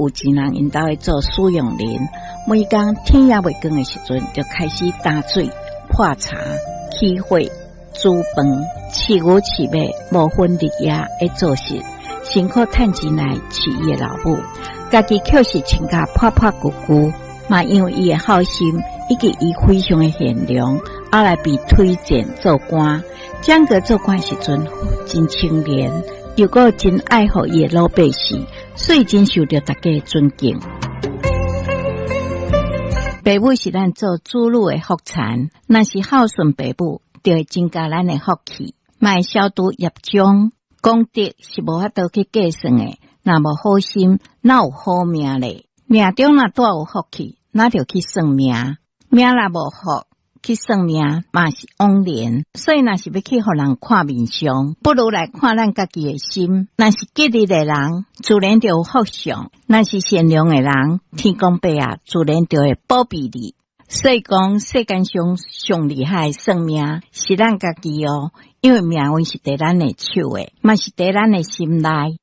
有錢人𪜶兜的做使用人，每工天猶未光的時陣，就開始擔水、泡茶、起火、煮飯、飼牛飼馬，無分日夜的做事，辛苦趁錢來飼伊的老母。家己卻是穿甲破破舊舊，嘛因為伊的孝心以及伊非常的賢良，後來被推薦做官。蔣格做官時陣真清廉，又閣真愛護伊的老百姓，所以真受著大家的尊敬。爸母是咱做子女的福田，若是孝順爸母，就會增加咱的福氣，嘛會消除業障。功德是無法度去計算的，若無好心，哪有好命咧？命中若帶有福氣，那就去算命；命若無福，去算命嘛是枉然。所以若是欲去予人看面相，不如來看咱家己的心。若是吉利的人，自然就有福相；若是善良的人，天公伯啊，自然就會保庇你。所以講，世間上上厲害的算命是咱家己哦，因為命運是佇咱的手的，嘛是佇咱的心內。